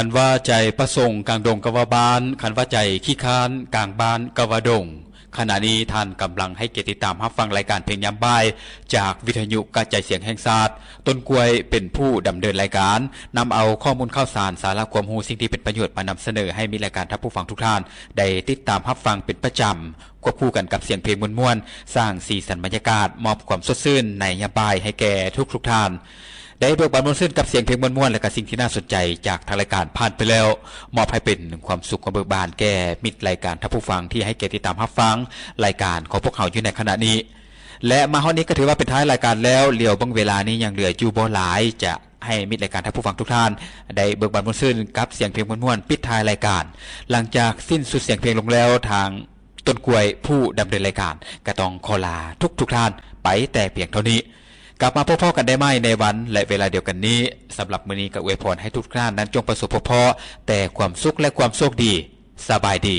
ຄັນວ່າໃຈປະສົງກາງດົງກໍວ່າບ້ານ, ຄັນວ່າໃຈຂີ້ຄ້ານກາງບ້ານກໍວ່າດົງ. ຂະນະນີ້ທ່ານກຳລັງໃຫ້ກຽດຕິດຕາມຮັບຟັງລາຍການເພງຍາມບ່າຍ ຈາກວິທະຍຸກະຈາຍສຽງແຫ່ງຊາດ. ຕົ້ນກ້ວຍເປັນຜູ້ດຳເນີນລາຍການ, ນຳເອົາຂໍ້ມູນຂ່າວສານ, ສາລະຄວາມຮູ້, ສິ່ງທີ່ເປັນປະໂຫຍດມານຳສະເໜີໃຫ້ມິດລາຍການທ່ານຜູ້ຟັງທຸກທ່ານໄດ້ຕິດຕາມຮັບຟັງເປັນປະຈຳ. ຄວບຄູ່ກັນກັບສຽງເພງມ່ວນໆ, ສ້າງສີສັນບັນຍາກາດ, ມອບຄວາມສົດຊື່ນໃນຍາມບ່າຍໃຫ້ແກ່ທຸກໆທ່ານ. ໄດ້ເບີກບານມ່ວນຊື່ນກັບສຽງເພງມ່ວນໆ ແລະກະສິ່ງທີ່ໜ້າສົນໃຈຈາກທາງລາຍການຜ່ານໄປແລ້ວ, ມອບໃຫ້ເປັນຄວາມສຸກຄວາມເບີກບານແກ່ມິດລາຍການທ່ານຜູ້ຟັງທີ່ໃຫ້ກຽດຕິດຕາມຮັບຟັງລາຍການຂອງພວກເຮົາຢູ່ໃນຂະນະນີ້. ແລະມາຮອດນີ້ກໍຖືວ່າເປັນທ້າຍລາຍການແລ້ວ, ຫຼຽວເບິ່ງເວລານີ້ຍັງເຫຼືອຢູ່ບໍ່ຫຼາຍ, ຈະໃຫ້ມິດລາຍການທ່ານຜູ້ຟັງທຸກທ່ານໄດ້ເບີກບານມ່ວນຊື່ນກັບສຽງເພງມ່ວນໆ ປິດທ້າຍລາຍການ. ຫຼັງຈາກສິ້ນສຸດສຽງເພງລົງແລ້ວ, ທາງ ຕົ້ນກ້ວຍຜູ້ດຳເນີນລາຍການ ກໍຕ້ອງຂໍລາທຸກໆທ່ານໄປແຕ່ພຽງເທົ່ານີ້. ກັບມາພົບພໍ້ກັນໄດ້ໃໝ່ໃນວັນ ແລະ ເວລາດຽວກັນນີ້. ສຳລັບມື້ນີ້ກໍອວຍພອນໃຫ້ທຸກໆທ່ານນັ້ນຈົ່ງປະສົບພົບພໍ້ແຕ່ຄວາມສຸກ ແລະ ຄວາມໂຊກດີ. ສະບາຍດີ.